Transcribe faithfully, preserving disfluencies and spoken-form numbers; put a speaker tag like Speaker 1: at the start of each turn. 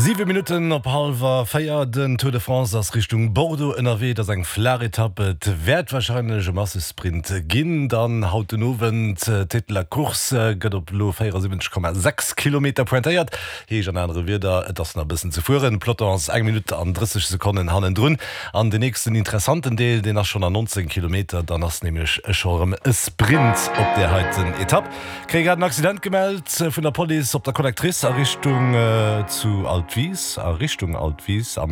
Speaker 1: Siwe Minutten op hallwer véier. Den Tour de France ass Richtung Bordeaux ënnerwee. Et ass eng flaach Etapp. Et wäert warscheinlech e Massesprint ginn dann haut den Owend. Tête de la Course gëtt op elo véierasiwwenzeg Komma sechs Kilometer pointéiert. Heescht an anere Wierder, et ass nach e bëssen ze fueren. Peloton ass eng Minutt an drësseg Sekonnen hannendrun. An den nächsten interessanten Deel, deen ass schonn an nonzéng Kilometer. Dann ass nämlech scho erëm e Sprint op där heiten Etapp. Kréie grad en Accident gemellt vun der Police op der Collectrice a Richtung zu Altwis, a Richtung Altwis am.